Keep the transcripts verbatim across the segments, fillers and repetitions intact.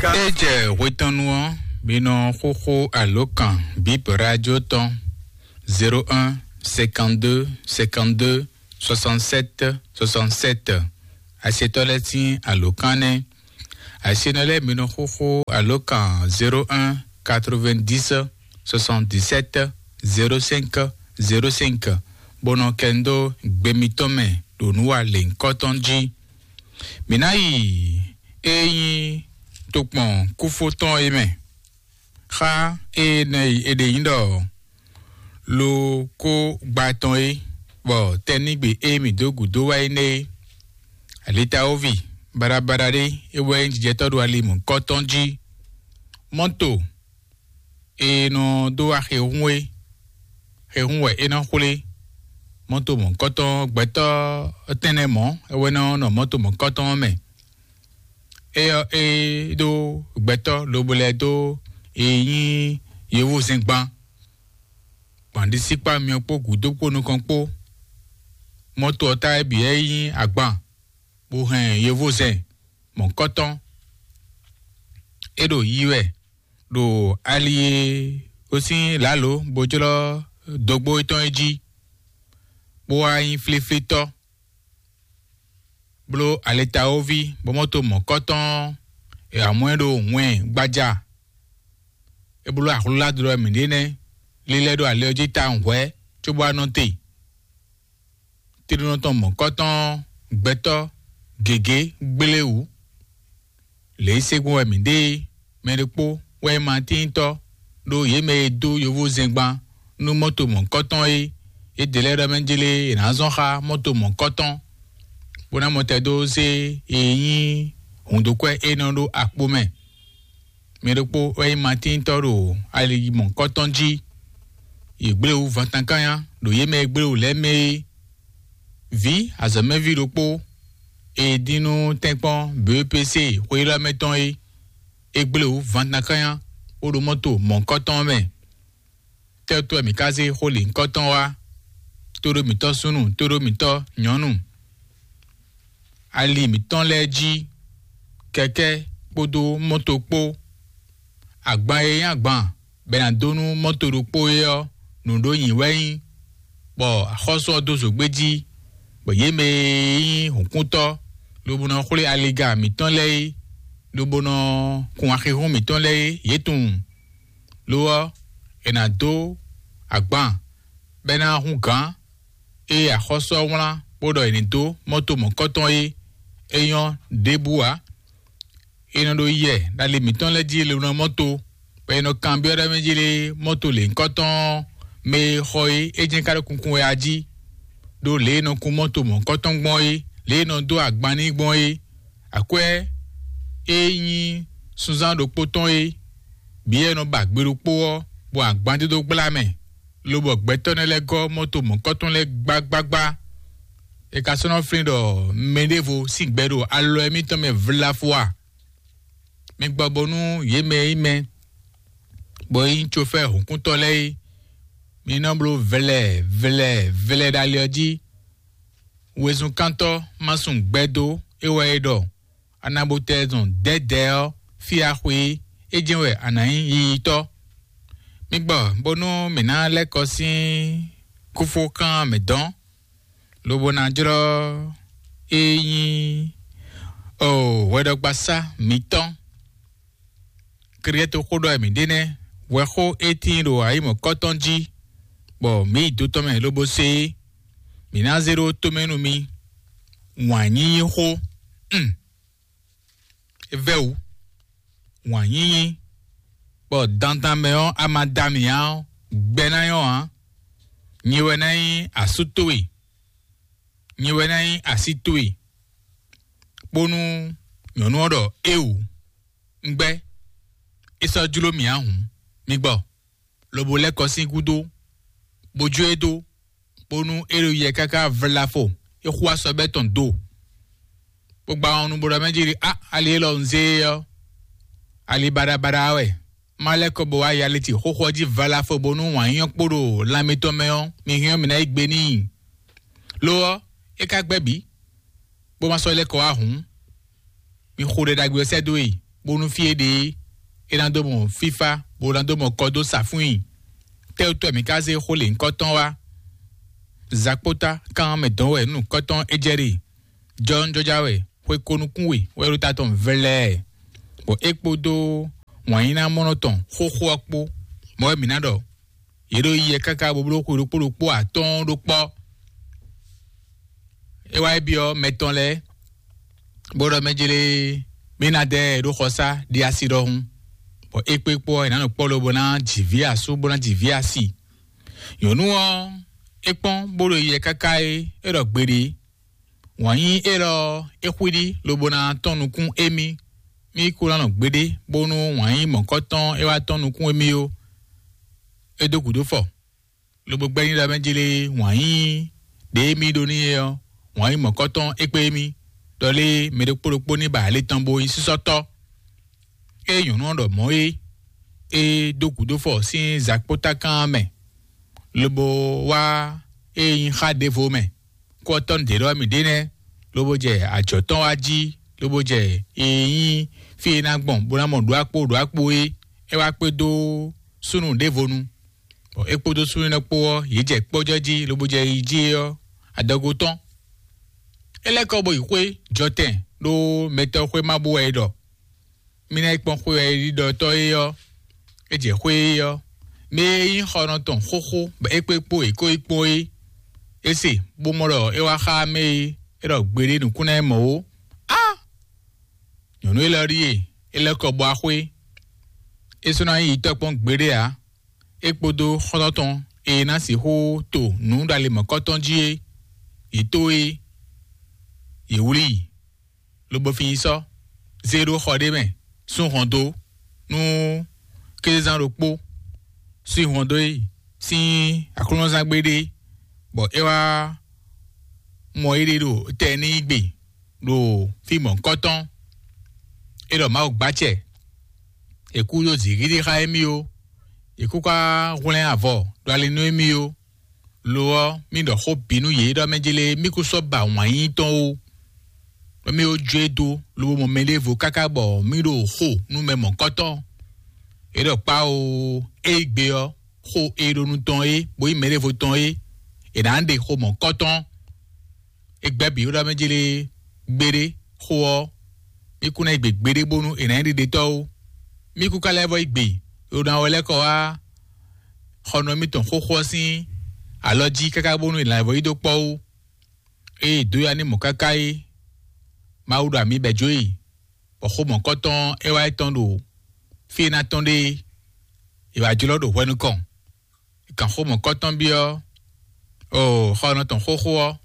É jɛ hwetɔ́nu ɔ́, mi nɔ xóxó alǒkan bǐ radio tɔn: zéro un, cinquante-deux, cinquante-deux, soixante-sept, soixante-sept. Asetɔ́ lɛ́ɛ sín alǒkan nɛ́. Asenɔ lɛ́ɛ mi nɔ xóxó alǒkan: zéro un, quatre-vingt-dix, soixante-dix-sept, zéro cinq, zéro cinq, bó nɔ kɛ nu dó gbe mitɔn mɛ ɖo nǔ wa lěhunkɔtɔn jí. Mǐ ná yi é nyí tokpɔn kúfó tɔn é mɛ. Xá énɛ́ e è ɖe nyí ɖɔ lo kó gba tɔn é, bɔ tɛnígbe e mǐ dó gǔdo wá é nɛ́ é. Alitawovi baɖabaɖa ɖé é wɛ nyí jijɛtɔ́ ɖo ali mɔ̌hunkɔtɔn jí. Mɔ́to e nɔ dó wá xehún é, xehún wɛ é nɔ xwlé. Mɔ́to mɔ̌hunkɔtɔn gbɛtɔ́ tɛ́nnɛ mɔ̌ é wɛ nɔ nɔ mɔ́to mɔ̌hunkɔtɔn ɔ́ mɛ. Éyɔ́ é ɖó gbɛtɔ́ lobo lɛ́ɛ dó e nyí yovózɛngban, gbǎndísíkpá myɔ kpó gǔdo kpó nukɔn kpó. Mɔ́to ɔ́ ta é bǐ é nyí agban, bó hɛn yovózɛn mɔ̌kɔ́tɔn. É ɖo yi wɛ ɖo ali e ó sín lǎlo bó jlɔ́ dógbó étɔn é jí, bó wá nyí flíflítɔ́. Bló alitawoví bɔ mɔ́to mɔ̌kɔ́tɔn ɔ́, è wǎ mɔ ɛ ɖo wɛn gbaja. É bló ahlúládó wɛ mǐ ɖe nɛ́, lílɛ́ ɖo ali ɔ́ jí tawun hwɛ̌ cóbó wá nɔ te. Tlínɔ tɔn mɔ̌kɔ́tɔn ɔ́, gbɛtɔ́ gěgé gblé wǔ. Lě e se gbɔn wɛ mǐ ɖe é, mɛ ɖokpó wɛ nyí Matíntɔ́, ɖó yě mɛ e dó yovózɛngban nú mɔ́to mɔ̌kɔ́tɔn é, yědɛɛ lɛ́ɛ ɖɔ mɛ jlé è nǎ zɔn xá mɔ́to mɔ̌kɔ́tɔn, bó ná mɔ tɛdo zé e nyí hǔndókwɛ́ e nɔ ɖó akpo mɛ. Mɛ ɖokpó wɛ nyí Matíntɔ́ ɖo ali mɔ̌kɔ́tɔn jí. Yě gblé wǔ vantankánya ɖo yě mɛ e gblé wǔ lɛ́ɛ mɛ é. Vǐ azɔ̌mɛví ɖokpó e dín nú tɛ́nkpɔ́n B E P C xwe élɔ́ mɛ tɔn é, é gblé wǔ vantankánya bó ɖo mɔ́to mɔ̌hunkɔtɔn ɔ́ mɛ. Tɛ́ wútu wɛ mǐ ka zé xó lǐnkɔ́tɔn wá? Tóɖó mǐtɔn súnnu, tóɖó mǐtɔn nyɔ̌nu, ali mǐtɔn lɛ́ɛ jí, kɛkɛ́ kpódó mɔ́to kpó. Agban e nyí agban bɔ è nǎ dó nú mɔ́to ɖokpó é ɔ́, nǔɖó nyǐ wɛ nyí, bɔ axɔ́sú ɔ́ dó zǒgbé jí, bɔ yě mɛ e nyí hǔnkúntɔ́ lobo nɔ xwlé aliga mǐtɔn lɛ́ɛ é, lobo nɔ kun axixún mǐtɔn lɛ́ɛ é, yě tunwun. Lo ɔ́, è nǎ dó agban bɔ é ná hún gǎn e axɔ́sú ɔ́ wlán bó ɖɔ è nǐ dó mɔ́to mɔ̌kɔ́tɔn é, é nyɔ́ ɖěbǔ ǎ. È nɔ ɖo yɛ ɖo ali mǐtɔn lɛ́ɛ jí lě nɔ mɔ́to, bɔ è nɔ kanbyɔ́ ɖɔ mɛ jí lé mɔ́to lěhunkɔtɔn ɔ́, mɛ e xɔ é, é jɛ́n ka ɖo kunkun wɛ a jí, ɖó lě e è nɔ kun mɔ́to mɔ̌kɔ́tɔn gbɔn é, lě e è nɔ dó agban n'i gbɔn é. Akwɛ́ e nyí sunzán ɖokpó tɔn é, bǐ e nɔ ba gbe ɖokpó ɔ́, bɔ agban dídó gbla mɛ, lobɔ gbɛtɔ́ nɛ́ lɛ́ɛ gɔ́ mɔ́to mɔ̌kɔ́tɔn lɛ́ɛ gbágbágbá. È ka sɔ́ nɔ flín ɖɔ mɛɖěvo sín gbɛ ɖo alɔ émítɔn mɛ vlafo a? Mi gbɔ bónú yě mɛ e nyí mɛ, bɔ é nyí cofɛ́ hǔnkúntɔ́ lɛ́ɛ é, mi nɔ bló vlɛ vlɛ vlɛ ɖo ali ɔ́ jí. Wezunkántɔ́ ma sun gbɛdó é wɛ é ɖɔ: "Anabotɛzɔn dɛ̌dɛ̌ ɔ́, fí a xwe é, é jɛ́n wɛ a nǎ nyí yiyitɔ́." Mi gbɔ bónú mǐ ná lɛ́ kɔ sín kúfókan mɛ dɔn, lobo ná jlɔ́ é nyí o hwɛɖɔgbasá mǐtɔn. Kɛɖɛkɛ́ toxó ɖɔ wɛ mǐ ɖe nɛ́, hwɛxó e tíin ɖo ayǐmɔ̌kɔ́tɔn jí, bɔ mǐ yi do tɔn mɛ lobo se é. Mǐ ná zé ɖó tomɛ nú mi. Wǎn nyínyí xó, mm, é vɛ́ wǔ. Wǎn nyínyí, bɔ dandan mɛ ɔ́, a ma da mǐ ǎ ɔ́, gbɛ ná nyɔ́ ǎ. Nyi wɛ ná nyí asú towe, nyi wɛ ná nyí así towe. Bónú nyɔ̌nu ɔ́ ɖɔ: "Éeǒ, un gbɛ́, é sɔ́ jló mì ǎ hǔn, mi gbɔ." Lobo lɛ́ kɔ sín gúdo, bó jó e dó, bónú é ɖo yɛ káká vlafo, é xú asɔbɛ́ tɔn do, bó gba wɔn nu bó ɖɔ mɛ jí ɖi: "A, ali élɔ́ un zé é ɔ́, ali baɖabaɖa wɛ. Má lɛ́ kɔ bó wá yaliti xóxó ɔ́ jí vlafo, bónú wǎn nyínyɔ́ kpo ɖo lan mitɔn mɛ ɔ́, mi hɛn ɔ́, mǐ ná yí gbe n'i." Lo ɔ́, é ka gbɛ́ bǐ, bó ma sɔ́ lɛ́ kɔ wá hǔn, mi xo ɖɛ ɖagbe ɔ́ sɛ́ dó e. bónú fí e ɖe é ná dó mɔ fífá, bó ná dó mɔ kɔ dó sa fún i. Tɛ́wútɔ́ mǐ ka zé xó lěhunkɔtɔn wá? Zakpóta kan mɛ dɔn wɛ nukɔntɔn é jɛ ɖe. Jɔnjɔja wɛ xwe ko nukún we wɛ ɖo ta tɔn vlɛɛ, bɔ é kpódó wǎnyíná mɔnɔ tɔn xóxó ɔ́ kpó. Mɔ̌ wɛ mǐ ná ɖɔ yě ɖo yiyɛ káká bó bló xwe ɖokpó ɖokpó atɔ́ɔ́n ɖó kpɔ́. É wá yi byɔ́ mɛ tɔn lɛ́ɛ, bó ɖɔ mɛ jlé mí ná dɛ ɖó xɔsá ɖi asi ɖɔhun, bɔ é kpé kpó ɔ́, è nǎ nɔ kpɔ́ lobo ná jǐ vǐ asú bó ná jǐ vǐ asi. Nyɔ̌nu ɔ́, é kpɔ́n bó ɖo yiyɛ káká é, é ɖɔ gbeɖé. Wǎn yí élɔ́ ɔ́, é xwíɖí lobo ná tɔ́n nukún émí. Mí kú ná nɔ gbeɖé bónú wǎn yí mɔ̌kɔtɔn é wá tɔ́n nukún émí ó. É dó gǔdo fɔ, lobo gbɛ́ nyi ɖɔ mɛ jlé wǎn yí ɖě émí ɖó n'i é ɔ́, wǎn yí mɔ̌kɔtɔn é kpé émí, ɖɔ lé mɛ ɖokpó ɖokpó ní ba alě tɔn bó nyí sísɔ́tɔ́. Ée nyɔ̌nu ɔ́ ɖɔ mɔ̌ é, é dó gǔdo fɔ sín zakpótákan ɔ́ mɛ, lobo wá é nyí xá ɖěvo mɛ. Kú ɔ́ tɔ́ nǔ ɖě ɖɔ mǐ ɖe nɛ́, lobo jɛ ajɔ̌ tɔn wá jí, lobo jɛ e nyí fí e ná gbɔn bó ná mɔ ɖó akpó ɖó akpó é, é wá kpé dó súnnu ɖěvo nu. Bɔ é kpódó súnnu énɛ́ kpó ɔ́, yě jɛ kpɔ́jɔ́ jí, lobo jɛ yi jí é ɔ́, adɔgo tɔn. É lɛ́ kɔ bó yi xwé jɔtɛn ɖó mɛtɔ́ xwé má bú wɛ é ɖɔ. Mí ná yi kpɔ́n xwé wɛ é ɖiɖɔtɔ́ é ɔ́, é jɛ xwé é ɔ́, mɛ e nyí xɔnɔ tɔn xóxó bɔ é kpé kpó è kó yi kpɔ́n é. É se bó mɔ ɖɔ é wá xá mɛ e é ɖɔ gbeɖé nǔkún ná yi mɔ ó. Á! Nyɔ̌nu élɔ́ ɖíe é lɛ́ kɔ bó wá xwé. É sɔ́ ná nyí yi tɔ́ kpɔ́n gbeɖé ǎ. É kpódó xɔ́ntɔn tɔn e ná sixú to nǔ ɖo ali mɔ̌kɔtɔn jí é, yě tó é, yě wlí i, lobo fin yi sɔ́, zé ɖó xɔ ɖé mɛ, sú hɔn dó nú kézezán ɖokpó, sú hɔn dó é sín aklúnɔzángbe ɖé, bɔ é wá mɔ éɖée ɖo tɛ n'i gbe ɖo fí mɔ̌hunkɔtɔn. É ɖɔ Mawu gbacɛ, è kú ɖó zǐngídi xá émí ó, è kú ká hwlɛ́n avɔ ɖo ali nú émí ó. Lo ɔ́, mí ɖɔ xó bǐ nú yě ɖɔ mɛ jélé mí kú sɔ́ ba wǎn yíyí tɔn ó. Ɖɔ mí ó jó e dó lobo mɔ mɛɖěvo káká bɔ mí ɖo xo nú mɛ mɔ̌hunkɔtɔn. É ɖɔ kpá ó, é gbe ɔ́, xó e ɖo nu tɔn é, bó nyí mɛɖěvo tɔn é, è nǎ ɖe xo mɔ̌hunkɔtɔn. É gbɛ́ bǐ ɖɔ mɛ jélé gbeɖé xó ɔ́, mí kú ná yi gbe gbeɖé bónú è nǎ nyí ɖiɖetɔ́ ó. Mí kú ka lɛ́ vɔ yi gbe ɖo ná wɛ lɛ́ kɔ wá xɔnɔ mítɔn xóxó ɔ́ sín alɔ jí káká bónú è nǎ vɔ yi dó kpɔ́ ó. Ée dǒ ya ní mɔ̌ káká é, Mawu ɖo amǐ bɛ̌ jó e, bɔ xó mɔ̌kɔtɔn é wá yi tɔn ɖo fí e ná tɔn ɖe é, è wǎ jlɔ́ ɖo hwɛ nukɔn. È kan xó mɔ̌kɔtɔn byɔ́ o xɔnɔ tɔn xóxó ɔ́,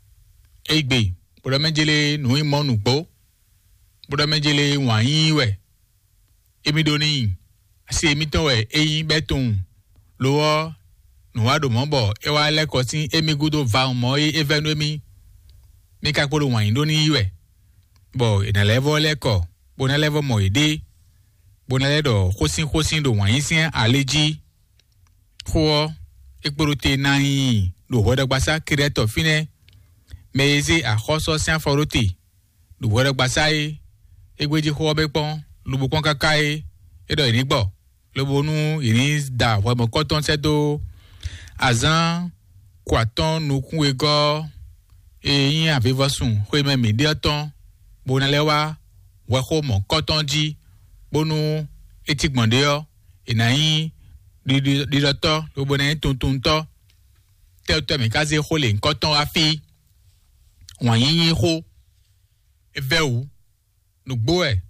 é gbe, bó ɖɔ mɛ jélé nǔ yi mɔ nǔgbó, bó ɖɔ mɛ jélé wǎn yíyí wɛ. Émí ɖó n'i, asi émítɔn wɛ é nyí bɛ́ tunwun. Lo ɔ́, nǔ wa ɖo mɔ̌ bɔ é wá lɛ́ kɔ sín émí gúdo vawun mɔ̌ e é vɛ́ nú émí. Mí ka kpo ɖo wǎn yí ɖó n'i wɛ, bɔ è nǎ lɛ́ vɔ lɛ́ kɔ, bó ná lɛ́ vɔ mɔ yěɖée, bó ná lɛ́ ɖɔ xósínxósín ɖo wǎn yí sín ali jí. Xó ɔ́, é kpo ɖo te ná nyi ɖo hwɛɖɔgbasá Kirɛ́tɔ fínɛ́. Mɛ e zé axɔ́sɔ́ sín afɔ ɖó te ɖo hwɛɖɔgbasá é, é gbéjí xó ɔ́ bɛ́ kpɔ́n, lobo kpɔ́n káká é, é ɖɔ yě ní gbɔ, lobo nú yě ní da hwɛ mɔ̌kɔtɔn sɛ́ dó azǎn kɔ atɔ́ɔ́n nukún wegɔ́ e nyí avivɔsun xwemɛ mǐ ɖe ɔ́ tɔn, bó ná lɛ́ wá hwɛxó mɔ̌kɔtɔn jí, bónú é cí gbɔn ɖě ɔ́, è nǎ nyí ɖiɖɔ- ɖiɖɔtɔ́ lobo ná nyí tuntuntɔ́. Tɛ́wútɔ́ mǐ ka zé xó lě nyǐkɔ tɔn wá fí? Wǎn yíyí xó é vɛ́ wǔ. Nǔgbó wɛ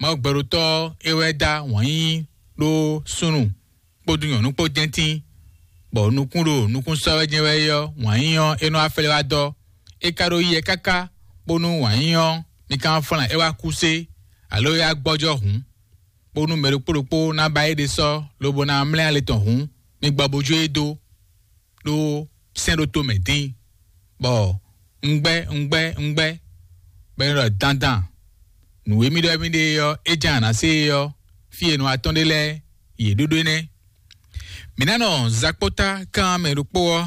Mawu gbɛɖótɔ́ é wɛ dá wǎn yíyí ɖó súnnu kpódó nyɔ̌nu kpó jɛ́ntín, bɔ nukún ɖo nukún sɔ́ wɛ jɛ́n wɛ é ɔ́, wǎn yíyí ɔ́ é nɔ wá flɛ́ wá dɔ́. É ka ɖó yɛ káká bónú wǎn yíyí ɔ́ mi ka wá flán é wá kú sé, alo é wá gbɔ́jɔ́ hǔn, bónú mɛ ɖokpó ɖokpó ná ba éɖée sɔ́ lobo ná mlɛ́ alɛ tɔn hǔn, mi gbɔ bó jó e dó ɖó sɛ́n ɖó tomɛ dín, bɔ un gbɛ́ un gbɛ́ un gbɛ́, bɔ é nɔ ɖɔ dandan nǔ e mì ɖɔ émí ɖe é ɔ́, é ján a nǎ se é ɔ́, fí e nɔ atɔ́n ɖe lɛ́ɛ yě ɖó ɖó énɛ́. Mǐ ná nɔ zakpóta kan mɛ ɖokpó ɔ́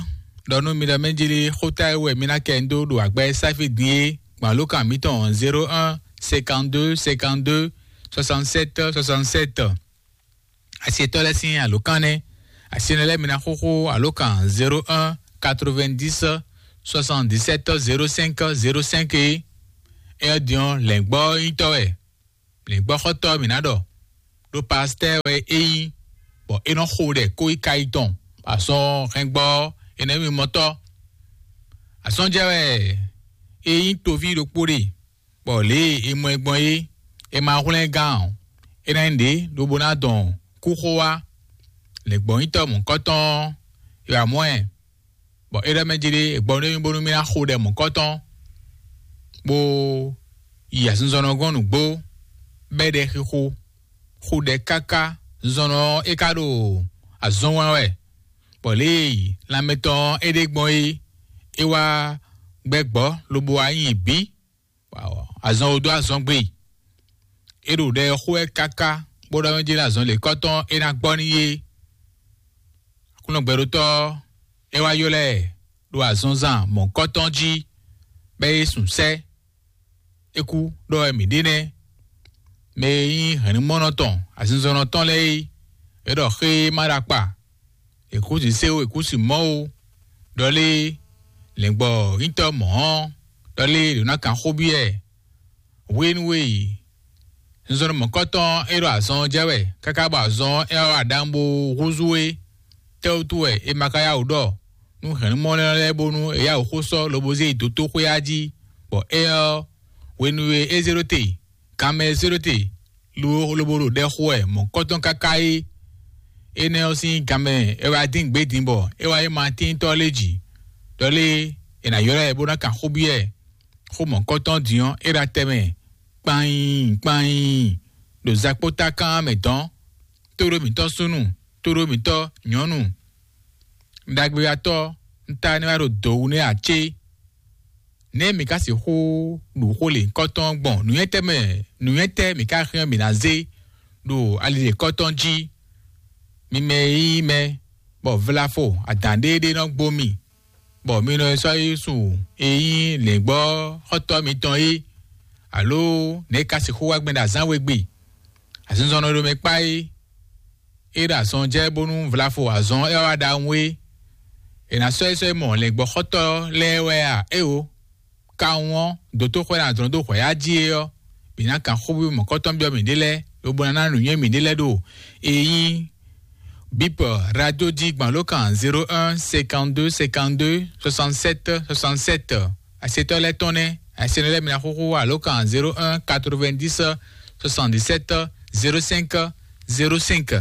ɖɔ nú mi ɖɔ mɛ jlí xóta e wɛ mi ná kɛ ń dó ɖo agbɛ́ sáfí din é, gbɔn alǒkan mǐtɔn zéro un cinquante-deux cinquante-deux soixante-sept soixante-sept. Asietɔ́ lɛ́ɛ sín alǒkan nɛ́. Asi énɛ́ lɛ́ɛ mi ná xóxó alǒkan zéro un quatre-vingt-dix soixante-dix-sept zéro cinq zéro cinq é. Éyɛ́ din ɔ́, lɛ̌ngbɔ́ nyítɔ́ wɛ, lɛ̌ngbɔ́xɔ́tɔ́ mi ná ɖɔ, ɖó pastɛ́ wɛ é nyí, bɔ é nɔ xo ɖɛ kó yi ka yi tɔn, azɔn hɛngbɔ́ énɛ́ mi mɔtɔ́. Azɔn jɛ wɛ é nyí toví ɖokpó ɖe, bɔ lě e è mɔ ɛ gbɔn é, è ma hwlɛ́n gán ǎ. É ná nyí ɖě lobo ná dɔn kúxo wá. Lɛ̌ngbɔ́nyitɔ́ mɔ̌hunkɔtɔn ɔ́, è wǎ mɔ ɛ, bɔ é ɖɔ mɛ jí ɖé è gbɔ nú émí bónú mì ná xo ɖɛ mɔ̌hunkɔtɔn, bó yi azinzɔnnɔ gɔ́n nǔgbó, bɛ́ ɖɛ xixo, xo ɖɛ káká. Zinzɔnnɔ ɔ́, é ka ɖo azɔn wɛn wɛ, bɔ lě e lanmɛ tɔn ɔ́ é ɖe gbɔn é, é wá gbɛ́ gbɔ̌ lobo wá nyi bǐ. Azɔn wo dó azɔn gbe. É ɖo ɖɛ xó wɛ káká, bó ɖɔ mɛ jí ɖo azɔn lěkɔ́tɔn é ná gbɔ n'i é. Aklúnɔ gbɛɖótɔ́ ɔ́, é wá ylɔ́ ɛ ɖo azɔnzan mɔ̌kɔ́tɔn jí, bɔ é sun sɛ́. É kú, ɖɔ wɛ mǐ ɖe nɛ́. Mɛ e nyí hɛ̌nnumɔnɔ tɔn, azinzɔnnɔ tɔn lɛ́ɛ é, é ɖɔ xé e ma ɖo akpa, è kú si sé ó, è kú si mɔ̌ ó, ɖɔ lé lɛ̌ngbɔ́ nyítɔ́ mɔ̌ ɔ́, ɖɔ lé ɖo ná kan xó byɔ́ ɛ. Hwenu e zinzɔnnɔ mɔ̌kɔtɔn é ɖo azɔn ɔ́ jɛ wɛ káká bɔ azɔn ɔ́ é wá ɖaŋ bó húzú é, tɛ́wútu wɛ è ma ka yá wǔ ɖɔ nú hɛ̌nnumɔnɔ lɛ́ɛ bónú è yá wǔ xó sɔ́ lobo zé yi dotóxwé ɔ́ jí, bɔ éyɛ́ ɔ́, hwenu e é zé ɖó te, kanmɛ e zé ɖó te, lo lobo ɖo ɖɛ xo wɛ mɔ̌kɔtɔn káká é. Énɛ́ ɔ́ sín ganmɛ é wá dín gbě din bɔ é wá yí Matíntɔ́ lé jǐ, ɖɔ lé è nǎ ylɔ́ ɛ bó ná kan xó byɔ́ ɛ. Xó mɔ̌kɔtɔn din ɔ́, é ɖo atɛ mɛ kpanyiin kpanyiin ɖo zakpótákan mɛ dɔn. Tóɖó mǐtɔn súnnu, tóɖó mǐtɔn nyɔ̌nu, ɖagbeatɔ́, un ta ní wá ɖo dǒ wú nú acé. Nɛ̌ mǐ ka sixú ɖu xó lěhunkɔtɔn gbɔn? Nǔnywɛ́tɛ́ mɛ, nǔnywɛ́tɛ́ mǐ ka hɛn mǐ ná zé ɖo ali lěhunkɔtɔn jí? Mi mɛ e nyí mɛ, bɔ vlafo adǎn ɖéeɖée nɔ gbo mi, bɔ mi nɔ sɔ́ yi su e nyí lěngbɔ́ xɔ́tɔ́ mitɔn é, alo nɛ̌ ka sixú wá gbɛn ɖo azǎn we gbe? Azinzɔnnɔ ɖo mɛ kpá é, é ɖo azɔn jɛ bónú vlafo azɔn é wá ɖaxó é, è nǎ sɔ́ é sɔ́ yi mɔ lɛ̌ngbɔ́xɔ́tɔ́ lɛ́ɛ wɛ a? Éwo, kawun ɔ́, dǒtóxwɛ ná dlɔ́n dó hwɛ̌yá jí é ɔ́, mǐ ná kan xóví mɔ̌kɔtɔn byɔ́ mǐɖée lɛ́ɛ, lobo ná ná nǔnywɛ́ mǐɖée lɛ́ɛ ɖo e nyí bip radio jí gbɔn alǒkan zéro un cinquante-deux cinquante-deux soixante-sept soixante-sept. Asetɔ́ lɛ́ɛ tɔn nɛ́, asetɔ́ lɛ́ɛ mi ná xóxó alǒkan zéro un quatre-vingt-dix soixante-dix-sept zéro cinq zéro cinq.